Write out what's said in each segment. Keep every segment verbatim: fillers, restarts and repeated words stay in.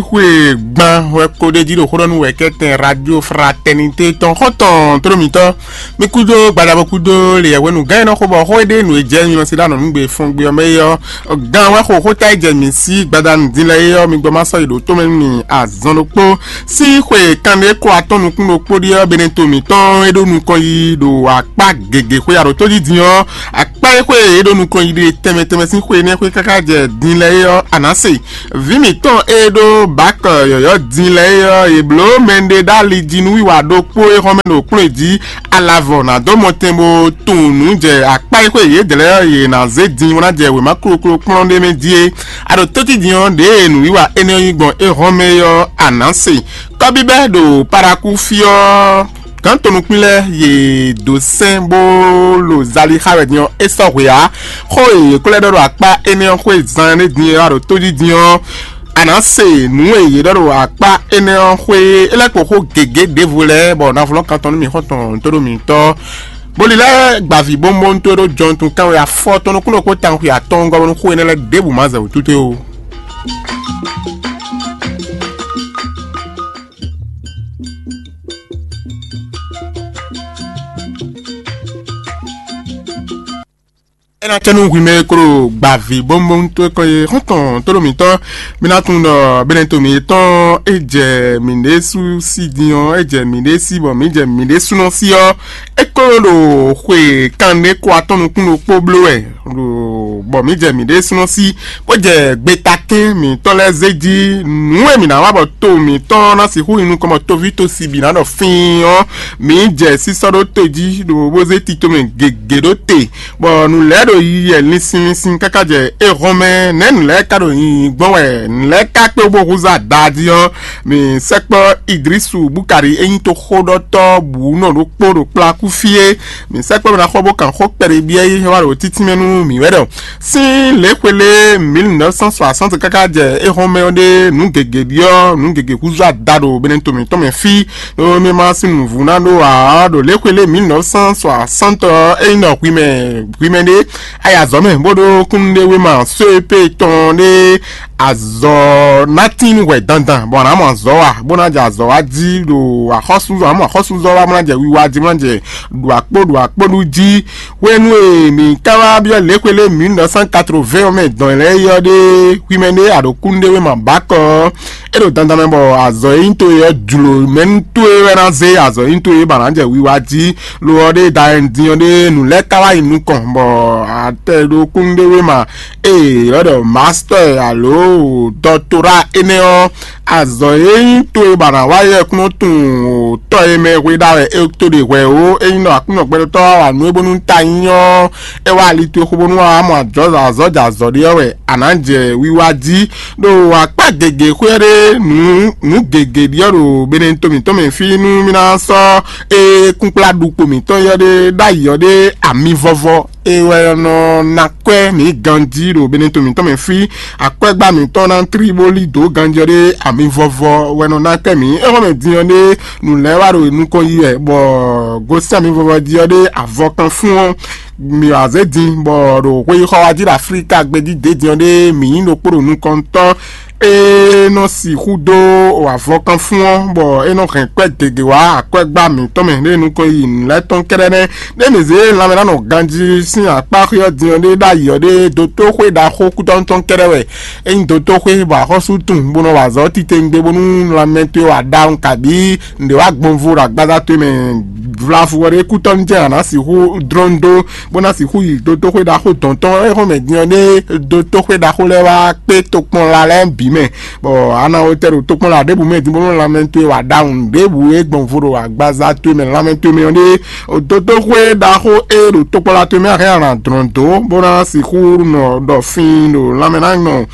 Xwé gban wɛ ko ɖe jí ɖo xó ɖɔ nú wɛ̌kɛ́tɛn Radio Fraternité tɔn xɔ́ntɔn tlómitɔ́. Mi kúdó gbadabo kúdó le yɛhwenu gán e nɔ xo bɔ xó e ɖe nǔ e jɛ mi lɔ sí ɖa nɔ nǔgbe fɔngbe ɔ́ mɛ é ɔ́, gán wɛ xo xóta e jɛ mi sí gbadanu din lɛ é ɔ́, mi gbɔ ma sɔ́ yi ɖo tó mɛ nú mi azɔn ɖokpó. Sín xwe kanɖé kó atɔ́ nukún ɖokpó ɖíe ɔ́, beneto mǐtɔn e ɖó nukɔn yi ɖo akpá gěgé xwe aɖǒtó jí din ɔ́, akpá e xwe e ɖó nukɔn yi ɖe tɛnmɛ tɛnmɛ sín xwe énɛ́ xwe káká jɛ din lɛ é ɔ́, a nǎ se. Vǐ mǐtɔn e ɖó bǎkɔ yɔ̌yɔ́ din lɛ́ɛ é ɔ́, yě bló mɛɖé ɖó ali jí nú wiwa ɖokpó e hɔn mɛ ɖo kplɔ́n jí alavɔ ná dó mɔtɛn bó tunwun nǔ jɛ akpá e xwe yědɛɛ lɛ́ɛ ɔ́, yě ná zé din bó ná jɛ wěma kloklo kplɔ́n ɖé mɛ jí é. A ɖo tócí din ɔ́, ɖěe nǔwiwa énɛ́ ɔ́ nyí gbɔn é hɔn mɛ é ɔ́, a nǎ se. Kɔ́bíbɛ́ ɖo Parakú fí ɔ́, gǎn tɔnukpín lɛ́ɛ yě dó sɛn bó lo zali xá wɛ din ɔ́, é sɔ́ hwe ǎ. Xó e yě ko lɛ́ ɖɔ ɖo akpá énɛ́ ɔ́ xwé zan énɛ́ din e wá ɖo tójí din ɔ́, a nǎ se nǔ e yě ɖɔ ɖo akpá énɛ́ ɔ́ xwé é lɛ́ kpo xó gěgé ɖěvo lɛ́ɛ, bɔ navlɔ́ kan tɔn nú mǐ xɔ́ntɔn tóɖó mǐtɔn. Boli lɛ́ɛ gbaví bónbóntó ɖó jɔntun kánwé afɔ tɔn nukúnnú kpó tawun xwe atɔ́ɔ́ngɔ́ bónú xó énɛ́ lɛ́ɛ ɖěbǔ ma zɛ wǔ túté ó. É ná cɛ nú hwi mɛ e klo gbaví bónbóntó kɔn e xɔ́ntɔn tóɖó mǐtɔn. Mi ná tunwun ɖɔ bɛ́nɛ́ to mǐtɔn e jɛ mǐɖésú sí din ɔ́, é jɛ mǐɖé sí bɔ mǐ jɛ mǐɖésúnɔ sí ɔ́, é klo ɖo xwe kanɖé kó atɔ́ nukún ɖokpó bló wɛ, ɖo bɔ mǐ jɛ mǐɖésúnɔ sí bó jɛ gbetakɛ́n mǐtɔn lɛ́ɛ zé jí. Nǔ e mǐ ná wa bɔ to mǐtɔn ná sixú nyi nukɔn bɔ toví to sibi ná ɖɔ fín ɔ́, mǐ jɛ sísɔ́ ɖó to jí ɖo bó zé tito mɛ gěgé ɖó te, bɔ nǔ lɛ́ɛ ɖo yiyi wɛ linsin linsin káká jɛ éhɔ́n mɛ. Nɛ̌ nǔ lɛ́ɛ ka ɖo yiyi gbɔn wɛ? Nǔ lɛ́ɛ ka kpé bó húzú ada jí ɔ́, mǐ sɛkpɔ́ Idrisu Bukari e nyí toxóɖɔtɔ́ bǔ nɔ ɖokpó ɖo kplá kú fí é. Mǐ sɛkpɔ́ mɛ ná xɔ bó kan xó kpɛɖé byɔ́ yí wá ɖo títínmɛ nú mǐ wɛ ɖɔ sín lě xwelé mil neuf cent soixante káká jɛ éhɔ́n mɛ ɔ́ ɖé nǔ gěgé ɖyɔ́, nǔ gěgé húzú ada ɖo Benɛto mǐtɔn mɛ fí. Ɖó mí ma sín nǔvú ná ɖó ǎ, ɖo lě xwelé mil neuf cent soixante ɔ́, é nyí nɔ hwi mɛ hwi mɛ ɖé, ayi azɔ̌ mɛ bó ɖó kúnnuɖewéma só e pé tɔn ɖé azɔ̌ ná tín nú hwɛ dandan, bɔ a nǎ mɔ azɔ̌ wa, bó ná jɛ azɔ̌ wa jí ɖo axɔ́súzɔ, a nǎ mɔ axɔ́súzɔ wa, bó ná jɛ wiwa jí, bó ná jɛ ɖu akpó ɖu akpó ɖu jí. Hwenu e mǐ ka wá byɔ́ lěxwé lé mil neuf cent quatre-vingts ɔ́ mɛ dɔn lɛ́ɛ é ɔ́ ɖé, hwi mɛ ɖé a ɖo kúnnuɖewéma bǎkɔ ɔ́, é ɖo dandan mɛ bɔ azɔ̌ e nyí towe ɔ́ jlǒ mɛ nú towe wɛ ná zé azɔ̌ e nyí towe ba ná jɛ wiwa jí. Lo ɔ́ ɖé da din ɔ́ ɖé nǔ lɛ́ɛ ka wá yi nukɔn bɔ a tɛ ɖo kúnnuɖewéma e yě ylɔ́ ɖɔ mastɛ́ alo dɔktora énɛ́ ɔ́, azɔ̌ e nyí towe ba ná wá yɛ kúnɔ tunwun tɔ́ e mɛ hwe ɖa wɛ é to ɖe hwɛ ó. É nyí ɖɔ Aklúnɔ gbɛɖotɔ́ wa nǔ e bónú ta nyí ɔ́, é wá ali towe xo bónú wá mɔ ajɔ̌ azɔ̌ jɛ azɔ̌ ɖé ɔ́ wɛ a nǎ jɛ wiwa jí. Ɖo akpá gěgé xwé ɔ́ ɖé nǔ nǔ gěgé ɖyɔ́ ɖo Benɛto mǐtɔn mɛ fí nú mí ná sɔ́ é kúnkplá ɖukpo mǐtɔn yɔ́ ɖé ɖ'ayǐ ɔ́ ɖé ami vɔvɔ e wɛ nɔ ná kwɛ́ mǐ ganjí ɖo Benɛto mǐtɔn mɛ fí. Akwɛ́gbá mǐtɔn ná tlí bó lí dǒ ganjí ɔ́ ɖé ami vɔvɔ wɛ nɔ ná kwɛ́ mǐ. Éhɔ́mɛ din ɔ́ ɖé nǔ lɛ́ɛ wá ɖo nukɔn yi wɛ, bɔ gosín ami vɔvɔ jí ɔ́ ɖé avɔ kan fún ɔ́, mǐ wá zé din, bɔ ɖo xweyíxɔ wá jí ɖo Aflíka gbéjí dě din ɔ́ ɖé mǐ nyí ɖokpó ɖo nukɔntɔ́ e nɔ sixú dó avɔkanfún ɔ́, bɔ é nɔ hɛn kwɛ́ gěgé wá akwɛ́gbá mǐtɔn mɛ ɖé nukɔn yi nǔ lɛ́ɛ tɔn kɛ́ɖɛ́ nɛ́. Ɖé mǐ zé lanmɛ ná nɔ ganjí sín akpá xwé ɔ́ din ɔ́ ɖé ɖ'ayǐ ɔ́ ɖé dótóxwé ɖaxó kútɔ́ tɔn kɛ́ɖɛ́ wɛ. Ényí dótóxwé bɔ axɔ́sú tunwun bó nɔ wa azɔ̌ titewungbe bónú lanmɛ towe wa ɖawun kabǐ nǔɖé wá gbɔn vo ɖo agbaza towe mɛ vlavo ɔ́ ɖé kútɔ́ jɛ́n a nǎ sixú dlɔ́n dó, bó ná sixú yi dótóxwé ɖaxó dɔn tɔn é xɔmɛ din ɔ́ ɖé dótóxwé ɖaxó lɛ́ɛ wá kpé tokpɔnla lɛ́ɛ bǐ mɛ, bɔ a nǎ wó tɛ ɖo tokpɔnla ɖěbǔ mɛ din bónú lanmɛ towe wa ɖawun ɖěbǔ e gbɔn vo ɖo agbaza towe mɛ lanmɛ towe mɛ ɔ́ ɖé dótóxwé ɖaxó e ɖo tokpɔnla towe mɛ a hɛn a nǎ dlɔ́n dó, bó ná sixú nɔ ɖɔ fin ɖo lanmɛ ná nɔ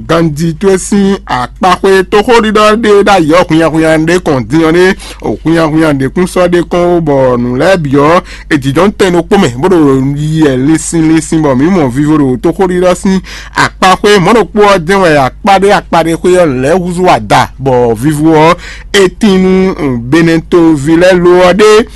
ganjí towe sín akpaxwé tóxóɖiɖɔ ɖé ɖ'ayǐ ɔ́ hwinnyahwinnya ɖé kɔn din ɔ́ ɖé, hwinnyahwinnya ɖě kún sɔ́ ɖe kɔn ó, bɔ nǔ lɛ́ɛ bǐ ɔ́, è jǐjɔ́n tɛn ɖokpó mɛ, bó ɖo yi wɛ linsin linsin, bɔ mǐ mɔ vivo ɖo tóxóɖiɖɔ sín akpaxwé mɔ̌ ɖokpó ɔ́ jɛ́n wɛ akpá ɖé akpá ɖé xwé ɔ́ lɛ̌ húzú ada, bɔ vivo ɔ́, é tín nú Benɛtoví lɛ́ɛ lo ɔ́ ɖé.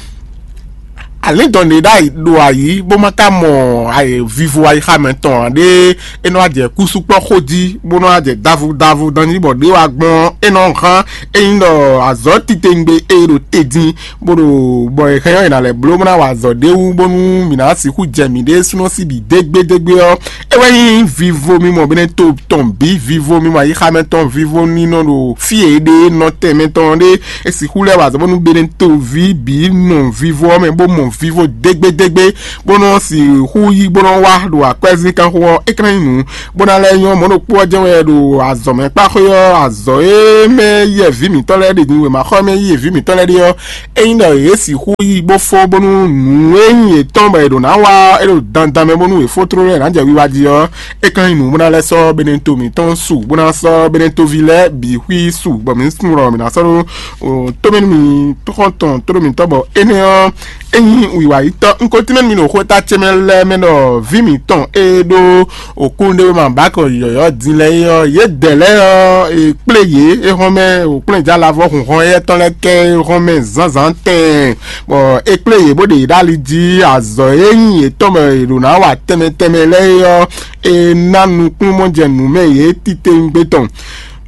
alǐndɔn ɖé ɖ'ayǐ ɖo ayǐ bó ma ka mɔ vivo ayixa mɛ tɔn ǎ ɖé, é nɔ wá jɛ kúsúkpɔ́ xó jí bó nɔ wá jɛ davu davu dán jí bɔ ɖě wá gbɔn é nɔ hán é nyí ɖɔ azɔ̌ titewungbe e ɖo te dín bó ɖo bɔ è hɛn ɔ́ è nǎ lɛ́ bló bó ná wa azɔ̌ ɖé wú bónú mǐ ná sixú jɛ mǐɖée súnɔ sí bǐ dégbédégbé ɔ́, é wɛ nyí vivo mímɔ bɛ́nɛ́ to tɔn bǐ, vivo mímɔ ayixa mɛ tɔn, vivo nínɔ ɖo fí e è ɖe nɔtɛn mɛ tɔn ɖé. É sixú lɛ́ wa azɔ̌ bónú bɛ́nɛ́ to ví bǐ nɔ vivo ɔ́ mɛ bó mɔ vivo dégbédégbé, bó nɔ sixú yí bó nɔ wá ɖo akwɛ́zínkanxó ɔ́, é ka ná nyí nǔ bó ná lɛ́ nyɔ́ mɔ̌ ɖokpó ɔ́ jɛ́n wɛ ɖo azɔ̌ mɛ kpá xwé ɔ́, azɔ̌ e mɛ yɛ vǐ mǐtɔn lɛ́ɛ ɖe din wěmaxɔ mɛ yí vǐ mǐtɔn lɛ́ɛ ɖe ɔ́, ényí ɖɔ yě sixú yí bó fó bónú nǔ e nyí yětɔn bɔ è ɖǒ ná wa ɔ́, é ɖo dandan mɛ bónú è fó tlóló ɛ nǎ jɛ wiwa jí ɔ́, é ka nyí nǔ bó ná lɛ́ sɔ́ Beneto mǐtɔn su, bó ná sɔ́ Benetoví lɛ́ɛ bǐ xwí su, bɔ mǐ sun ɖɔ mǐ ná sɔ́ ɖó tómɛnú mǐtɔn tɔn tóɖó mǐtɔn bɔ énɛ́ ɔ́, é nyí wǐwayítɔ́. Un ko tínmɛ nú mi ɖo xwéta ce mɛ lɛ́ɛ mɛ ɖɔ vǐ mǐtɔn e ɖó òkúnɖéwéma bǎkɔ yɔ̌yɔ́ din lɛ́ɛ é ɔ́, yědɛɛ lɛ́ɛ ɔ́, è kplé yě é hɔn mɛ, òkplɛ́njalavɔ hunhɔn éyɛ́ tɔn lɛ́ɛ kɛ é hɔn mɛ zǎnzǎn tɛɛn, bɔ è kplé yě bó ɖe yě ɖó ali jí. Azɔ̌ e nyí yětɔn bɔ è ɖǒ ná wa tɛnmɛ tɛnmɛ lɛ́ɛ é ɔ́, è ná nukúnnú mɔ jɛ nǔ mɛ yě titewungbe tɔn.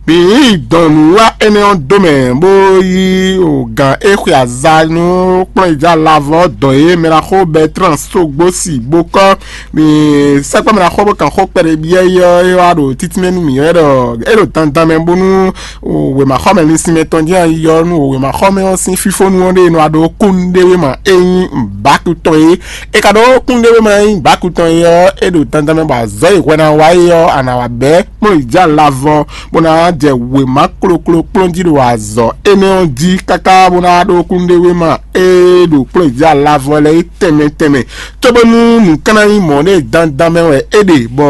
Mǐ yi dɔn nǔwiwa énɛ́ ɔ́ dó mɛ, bó yí gǎn e xwe aza nú kplɔ́nyijá lavɔ dɔn e mɛɖaxó Bɛtlán Sogbosi bó kɔ́. Mǐ sɛkpɔ́ mɛɖaxó bó kan xó kpɛɖé byɔ́ é ɔ́, é wá ɖo títínmɛ nú mǐ wɛ ɖɔ é ɖo dandan mɛ bónú wěmaxɔmɛ linsinmɛ tɔn jɛ́n yi ɔ́ nú wěmaxɔmɛ ɔ́ sín fífónú ɔ́ ɖe nɔ wá ɖó kúnnuɖéwéma e nyí bǎku tɔn é. È ka ɖó kúnnuɖéwéma e nyí bǎku tɔn é ɔ́, é ɖo dandan mɛ bɔ azɔ̌ e hwɛ ná wá é ɔ́, a nǎ wá bɛ́ kplɔ́nyijá lavɔ bó ná jɛ wěma kloklo kplɔ́n jí ɖo azɔ̌ énɛ́ ɔ́ jí káká bó ná ɖó kúnnuɖéwéma e ɖo kplɔ́nyijá lavɔ lɛ́ɛ é tɛnmɛ tɛnmɛ, cóbónú nǔ ka ná nyí mɔ̌ ɖé dandan mɛ wɛ é ɖe, bɔ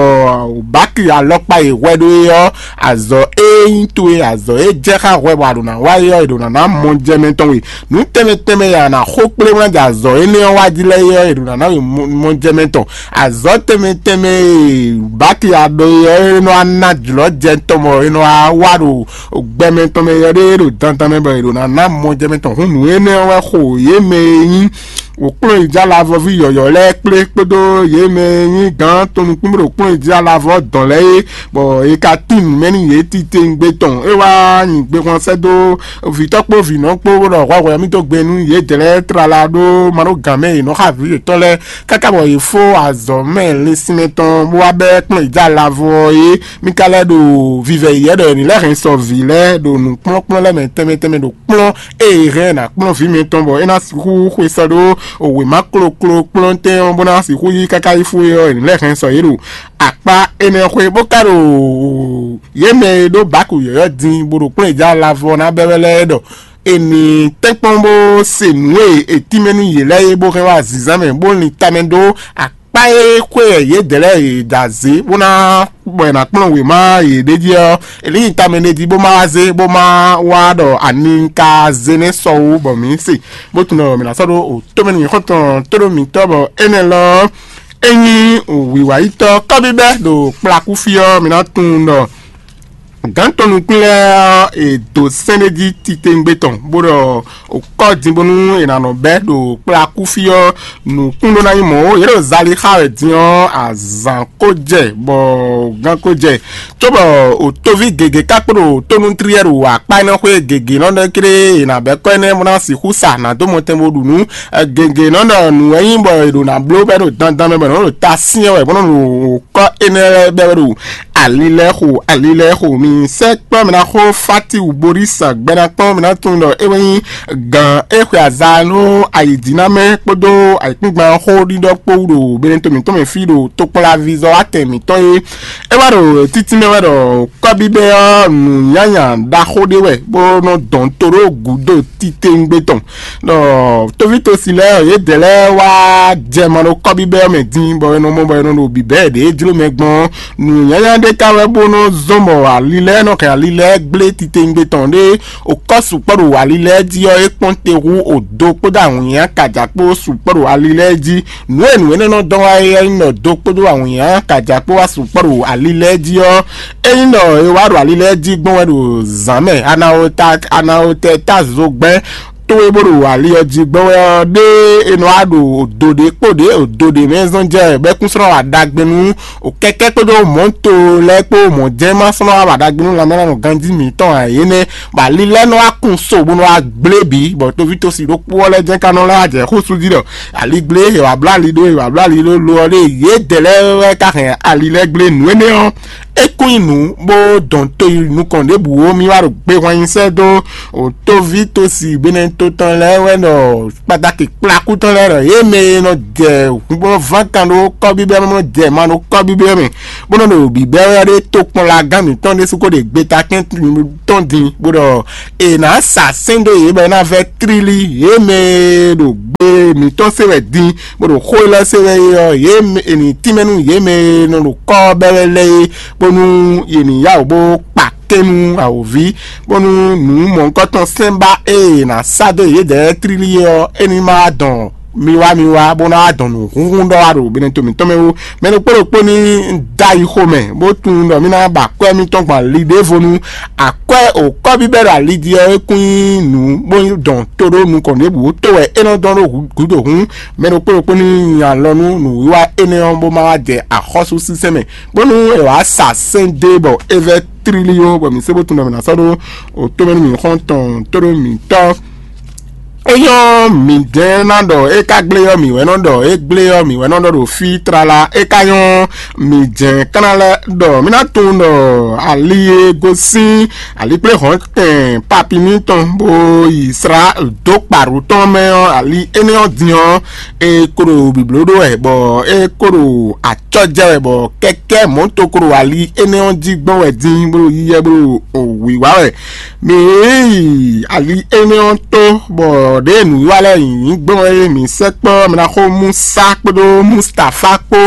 báki alɔkpa e hwɛ ɖó é ɔ́, azɔ̌ e nyí towe, azɔ̌ e jɛ xá hwɛ bɔ a ɖǒ ná wa é ɔ́, è ɖǒ ná ná mɔjɛmɛ tɔn we. Nǔ tɛnmɛ tɛnmɛ e a nǎ xo kplé bó ná jɛ azɔ̌ énɛ́ ɔ́ wá jí lɛ́ɛ é ɔ́, è ɖǒ ná ná we mɔjɛmɛ tɔn. Azɔ̌ tɛnmɛ tɛnmɛ e báki a ɖó é ɔ́, é nɔ wá ná jlɔ̌ jɛ tɔn bɔ é nɔ wá wa ɖo gbɛmɛ tɔn mɛ yɔ ɖé ɖo dandan mɛ bɔ è ɖǒ ná ná mɔjɛmɛ tɔn. Hǔn nǔ énɛ́ ɔ́ wɛ xo yě mɛ e nyí wǒkplɔ́nyijá lavɔví yɔ̌yɔ́ lɛ́ɛ kplé kpódó yě mɛ e nyí gǎn tɔn nukúnmí ɖo kplɔ́nyijá lavɔ dɔn lɛ́ɛ é, bɔ è ka tín nǔ mɛ nú yě titewungbe tɔn. É wá nyi gbexwan sɛ́ dó vǐtɔ́ kpó vǐnɔ kpó bó ɖɔ hwɛhwɛ mì dó gbe nú yědɛɛ lɛ́ɛ tlala ɖó ma ɖó gǎn mɛ e nɔ xa vǐ yětɔn lɛ́ɛ, káká bɔ yě fó azɔ̌ mɛ linsinmɛ tɔn bó wá bɛ́ kplɔ́nyijá lavɔ ɔ́ é. Mí ka lɛ́ ɖo vivɛ yɛ̌ ɖɔ è nǐ lɛ́ hɛn sɔ vǐ lɛ́ɛ ɖo nǔkplɔ́nkplɔ́n lɛ́ɛ mɛ tɛnmɛ tɛnmɛ ɖo kplɔ́n ée è hɛn ná kplɔ́n vǐ mɛtɔn bɔ é ná sixú xwe sɔ ɖó wěma kloklo kplɔ́ntɛn ɔ́ bó ná sixú yí káká yi fú é ɔ́, è nǐ lɛ́ hɛn sɔ yě ɖo akpá énɛ́ xwé bó ka ɖo yě mɛ e ɖó bǎku yɔ̌yɔ́ din bó ɖo kplɔ́n yě jɛ alavɔ ná bɛ́ wɛ lɛ́ɛ ɖɔ è nǐ tɛ́nkpɔ́n bó se nǔ e è tínmɛ nú yě lɛ́ɛ é bó hɛn wá zǐnzán mɛ bó lin tamɛ ɖó akpá e xwé wɛ yědɛɛ lɛ́ɛ è da zě bó ná bɔ è nǎ kplɔ́n wěma yě ɖ'é jí ɔ́, è nǐ nyi tamɛ ɖ'é jí bó ma wá zé bó ma wá ɖɔ ani ka zé nɛ́ sɔ wú bɔ mǐ se, bó tunwun ɖɔ mǐ ná sɔ́ ɖó o tómɛ nú xɔ́ntɔn tóɖó mǐtɔn bɔ énɛ́ lɔ ɔ́, é nyí wǐwayítɔ́ kɔ́bíbɛ́ ɖo kplakúfí ɔ́, mǐ ná tunwun ɖɔ gǎn tɔn nukún lɛ́ɛ ɔ́, è dǒ sɛ́n ɖé jí titewungbe tɔn bó ɖɔ kɔ́ din bónú è nǎ nɔ bɛ́ ɖo kplakúfí ɔ́, nǔkún ɖó ná nyí mɔ̌ ó. Yě ɖo zali xá wɛ din ɔ́, azǎn ko jɛ bɔ gán ko jɛ, cóbɔ òtóví gěgé ká kpo ɖo tónútriɛ́ ɖo akpá énɛ́ xwé gěgé nɔ ɖɔ kéré è nǎ bɛ́ kɔ́ énɛ́ bó ná sixú sa nǎ dó mɔtɛn bó ɖu nǔ. Gěgé nɔ ɖɔ nǔ wɛ nyí bɔ è ɖo nǎ bló bɔ é ɖo dandan mɛ bɔ è nɔ ɖo ta syɛ́n wɛ bó nɔ ɖo kɔ́ énɛ́ lɛ́ɛ bɛ́ wɛ ɖo ali lɛ́ɛ xo, ali lɛ́ɛ xo. Mi sɛ́ kpɔ́ mɛ ná xó Fátiwu Borísa gbɛ́ ná kpɔ́n mɛ ná tunwun ɖɔ é wɛ nyí gǎn e xwe aza nú ayǐjínamɛ kpódó ayǐkúngban xó ɖiɖɔ kpó wú ɖo Beneto mǐtɔn mɛ fí ɖo tokpɔnlavízɔ́ atɛn mǐtɔn é. É wá ɖo títí mɛ wɛ ɖɔ kɔ́bíbɛ́ ɔ́ nǔnyanya ɖaxó ɖé wɛ bó nɔ dɔn to ɖó gǔdo titewungbe tɔn. Ɖɔ tóvítosi lɛ́ɛ ɔ́, yědɛɛ lɛ́ɛ wá jɛ ma ɖo kɔ́bíbɛ́ ɔ́ mɛ dín, bɔ è nɔ mɔ bɔ è nɔ ɖo bǐbɛ́ ɖě jló mɛ gbɔn ɔ́, nǔnyanya ɖé ka wɛ bó nɔ zɔ́n bɔ ali lɛ́ɛ nɔ hɛn ali lɛ́ɛ gblé titewungbe tɔn ɖé okɔ́ sukpɔ́ ɖo ali lɛ́ɛ jí ɔ́, é kpɔ́n te hú odo kpódó awǐnnya kaja kpó sukpɔ́ ɖo ali lɛ́ɛ jí. Nǔ e nǔ énɛ́ nɔ dɔn wá é nyí ɖɔ do kpódó awǐnnya kaja kpó wá sukpɔ́ ɖo ali lɛ́ɛ jí ɔ́, é nyí ɖɔ è wá ɖo ali lɛ́ɛ jí gbɔn wɛ ɖo zǎn mɛ, anawota anawotɛ ta zogbɛ́n towe bó ɖo ali ɔ́ jí gbɔn wɛ ɔ́, ɖé è nɔ wá ɖo odo ɖé kpó ɖě odo ɖě mɛ zɔn jɛ bɛ́kúnslɔ́n wa ɖagbe nú kɛkɛ́ kpódó mɔ̌to lɛ́ɛ kpó mɔ̌ jɛ́n ma slɔ́n wa ɖagbe nú lanmɛ́nánɔ ganjí mǐtɔn ǎ. Énɛ́ bɔ ali lɛ́ɛ nɔ wá kun so bó nɔ wá gblé bǐ, bɔ toví tosi ɖokpó ɔ́ lɛ́ɛ jɛ́n ka nɔ lɛ́ wá jɛ xó sú jí ɖɔ ali gblé, è wǎ bló ali ɖó, è wǎ bló ali ɖó lo ɔ́ ɖé yědɛɛ lɛ́ɛ wɛ ka hɛn ali lɛ́ɛ gblé nǔ énɛ́ ɔ́. É kún nyí nǔ bó dɔn to yi nukɔn ɖěbǔ ó, mì wá ɖo gbe hwan nyi sɛ́ dó òtóví tosi benɛto tɔn lɛ́ɛ wɛ ɖɔ kpatakì kplakú tɔn lɛ́ɛ ɖɔ yě mɛ e nɔ jɛ hunbɔ́ ván kan ɖó kɔ́bíbɛ́ mɛ, nɔ jɛ ma ɖó kɔ́bíbɛ́ mɛ, bó nɔ ɖo bǐbɛ́ wɛ ɖé tokpɔnlagán mǐtɔn ɖésú ko ɖe gbeta kɛn tɔn din, bó ɖɔ è nǎ sa sɛ́n dó yě bɔ é ná vɛ́ tlílí. Yě mɛ e ɖo gbe mǐtɔn se wɛ din, bó ɖo xó élɔ́ se wɛ é ɔ́, yě mɛ è nǐ tínmɛ nú yě mɛ e nɔ ɖo kɔ́ bɛ́ wɛ lɛ́ɛ é, bónú yě ní yá wǔ bó kpa kɛ́n nú awǒvi, bónú nǔ mɔ̌hunkɔtɔn sɛ́n ba e è nǎ sá dó yědɛɛ tlílí é ɔ́, é ní ma wá dɔn mi wá mi wá bó ná wá dɔn nǔ húnhún ɖɔ wá ɖo benɛto mǐtɔn mɛ ó. Mɛ ɖokpó ɖokpó ní dó ayi xomɛ, bó tunwun ɖɔ mì ná ba akwɛ́ mitɔn gbɔn ali ɖěvo nu. Akwɛ́ òkɔ́ bíbɛ́ ɖo ali jí ɔ́, é kún nyí nǔ bó dɔn tó ɖó nukɔn ɖěbǔ tó wɛ é nɔ dɔn ɖó gǔdo hǔn. Mɛ ɖokpó ɖokpó ní nyi alɔ nú nǔwiwa énɛ́ ɔ́, bó má wá jɛ axɔ́súsínsɛ́n mɛ, bónú è wǎ sa sɛ́n dó e bɔ é vɛ́ tlílí ó, bɔ mǐ sé bó tunwun ɖɔ mǐ ná sɔ́ ɖó òtómɛ nú mǐ xɔ́ntɔn tó ɖó mǐtɔn. É nyɔ́ mǐdɛɛ ná ɖɔ é ka gblé ɔ́, mǐ wɛ nɔ ɖɔ é gblé ɔ́, mǐ wɛ nɔ ɖɔ ɖo fí tlala. É ka nyɔ́ mǐdɛɛ ká ná lɛ́ ɖɔ mǐ ná tunwun ɖɔ ali e gosín alikpléhɔ̌ntɛn papi mitɔn bó yi slá dó kpaɖu tɔn mɛ ɔ́, ali énɛ́ ɔ́ din ɔ́, è ko ɖo bǐbló ɖó wɛ, bɔ é ko ɖo acɔ́ jɛ wɛ, bɔ kɛ́kɛ́ mɔ̌to ko ɖo ali énɛ́ ɔ́ jí gbɔn wɛ dín bó ɖo yíyɛ bó ɖo wǐwá wɛ. Mǐ yi ali énɛ́ ɔ́ tó, bɔ ɖěe nǔwiwa lɛ́ɛ nyǐ gbɔn é mǐ sɛkpɔ́ mɛ ná xó Musa kpódó Mustafa kpó,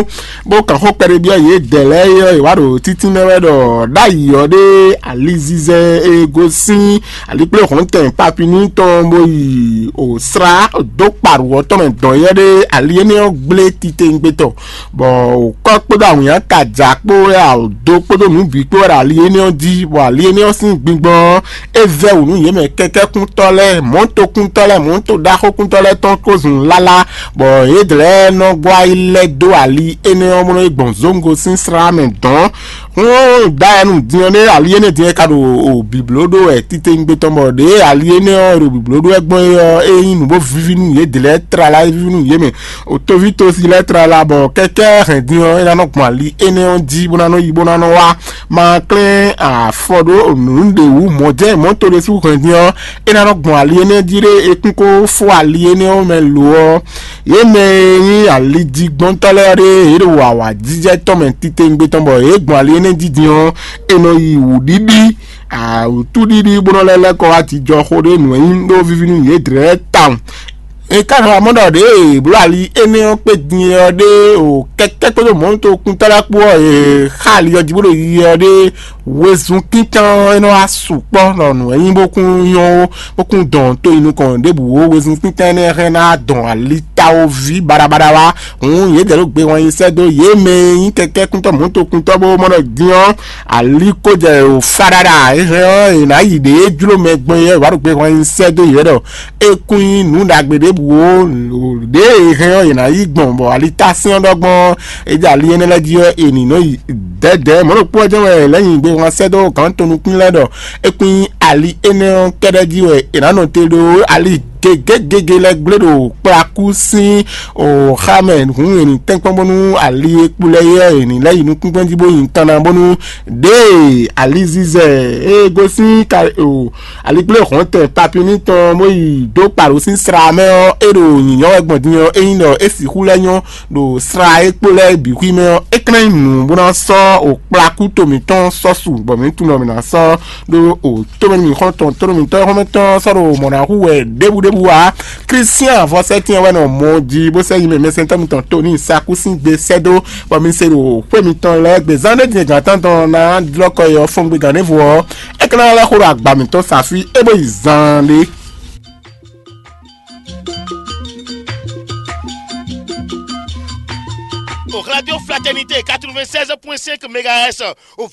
bó kàn xó kpɛɖébyɔ́ yědɛɛ lɛ́ɛ é ɔ́, è wǎ ɖo títínmɛ wɛ ɖɔ ɖ'ayǐ ɔ́ ɖé alizizɛ e gosín alikpléhɔ̌ntɛn Papini tɔn bó yi o slá dó kpaɖu ɔ́ tɔn mɛ dɔn yɛ́ ɖé ali énɛ́ ɔ́ gblé titewungbe tɔn, bɔ wǔkɔ kpódó awǐnnya ka ja kpó wɛ ado kpódó nǔ bǐ kpó wɛ ɖo ali énɛ́ ɔ́ jí, bɔ ali énɛ́ ɔ́ sín gbigbɔn ɔ́, é vɛ́ wǔ nú yě mɛ kɛkɛ́kúntɔ́ lɛ́ɛ, mɔ̌tokúntɔ́ lɛ́ɛ, mɔ̌to ɖaxókúntɔ́ lɛ́ɛ tɔn kó zun lálá, bɔ yědɛɛ lɛ́ɛ nɔ gbɔ ayi lɛ́ dó ali énɛ́ ɔ́ mlɔ́ yi gbɔn zǒngo sín slá mɛ dɔ̌n. Hǔn dayɛnu din ɔ́ nɛ́ ali énɛ́ din ɔ́ ka ɖo bǐbló ɖó wɛ titewungbe tɔn, bɔ ɖěe ali énɛ́ ɔ́ ɖo bǐbló ɖó wɛ gbɔn é ɔ́, é nyí nǔ bó víví nú yě dě lɛ́ɛ tlala, é víví nú yě mɛ. Otoví tosi lɛ́ɛ tlala, bɔ kɛkɛ́ hɛn din ɔ́, é ná nɔ gbɔn ali énɛ́ ɔ́ jí bó ná nɔ yi bó ná nɔ wá. Ma klɛ́n afɔ ɖó nǔɖé wú mɔ̌ jɛ́n mɔ̌ to ɖésú hɛn din ɔ́, é ná nɔ gbɔn ali énɛ́ jí ɖé, é kún kó fó ali énɛ́ ɔ́ mɛ lo ɔ́, yě mɛ e nyí alijigbɔntɔ́ lɛ́ɛ ɖé, yě ɖo awǎjijɛ tɔn mɛ titewungbe tɔn, bɔ yě gbɔn ali énɛ́ jí din ɔ́, è nɔ yi wǔɖiɖi, awǔtúɖiɖi bó nɔ lɛ́ lɛ́ kɔ wá jijɔ xó ɖé nǔ e nyí ɖó víví nú yě dlɛ̌ tawun. È ka nɔ mɔ ɖɔ ɖěe bló ali énɛ́ ɔ́ kpé din ɔ́ ɖé o kɛ́kɛ́ kpódó mɔ̌tokúntɔ́ lɛ́ɛ kpó ɔ́, è xa ali ɔ́ jí bó ɖo yiyi ɔ́ ɖé wezun kíntɔn ɔ́, é nɔ wá sukpɔ́ ɖɔ nǔ e nyí bó kún nyɔ́ ó, bó kún dɔn to yi nukɔn ɖěbǔ ó. Wezun kíntɔn énɛ́ hɛn ná dɔn ali tawoví baɖabaɖa wá. Hǔn yědɛɛ ɖo gbe wɛn yi sɛ́ dó yě mɛ e nyí kɛkɛ́kúntɔ́ mɔ̌tokúntɔ́ bó mɔ ɖɔ din ɔ́, ali ko jɛ o faɖaɖa e hɛn ɔ́, è nǎ yi ɖě jló mɛ gbɔn é wǎ ɖo gbe wɛn yi sɛ́ dó yě ɖɔ é kún nyí nǔ ɖagbe ɖěbǔ ó. Ɖěe è hɛn ɔ́, è nǎ yí gbɔn, bɔ alitásɛ́n ɔ́ ɖɔ gbɔn é jɛ ali énɛ́ lɛ́ɛ jí ɔ́, è nǐ nɔ yi dɛ̌dɛ̌. Mɔ̌ ɖokpó ɔ́ jɛ́n wɛ è lɛ̌ nyi gbe whan sɛ́ dó gǎn tɔn nukún lɛ́ɛ ɖɔ é kún nyí ali énɛ́ ɔ́ kɛ́ɖɛ́ jí wɛ è nǎ nɔ te ɖó ali gěgé gěgé lɛ́ɛ gblé ɖo kplakú sín o xa mɛ hǔn è nǐ tɛ́nkpɔ́n bónú ali e kpo lɛ́ɛ é ɔ́, è nǐ lɛ́ yi nukúngbɛ́ jí bó nyi tan ná bónú ɖěe alizizɛ e gosín ka o alikplé hɔ̌ntɛn Papini tɔn bó yi dó kpaɖó sín sra mɛ ɔ́, é ɖo nyǐnyɔ́ wɛ gbɔn din ɔ́, é nyí ɖɔ é sixú lɛ́ nyɔ́ ɖo sra e kpo lɛ́ɛ bǐ xwí mɛ ɔ́, é klɛ́n nyi nǔ bó ná sɔ́ o kplakú to mǐtɔn sɔ́ su, bɔ mǐ tunwun ɖɔ mǐ ná sɔ́ ɖó o tómɛnú mǐxɔ́ntɔn tónú mǐtɔn xɔ́mɛtɔn sɔ́ ɖo mɔ̌ ná hu wɛ ɖěbǔɖěbǔ ǎ. Klísyɛn avɔsɛ́tɛn wɛ nɔ mɔ jí bó sɛ́ yi mɛ mɛsɛntɔ́ mitɔn Toni Sakúsín gbe sɛ́ dó, bɔ mi se ɖo xwé mitɔn lɛ́ɛ gbe zán ɖé din gǎn tántɔn ná dlɔ́ kɔ yi ɔ́ fɔ́n gbe gǎn ɖěvo ɔ́, é ka ná lɛ́ xo ɖo agba mǐtɔn sa fí é bó yi zaan ɖé. Au Radio Fraternité quatre-vingt-seize point cinq mégahertz, au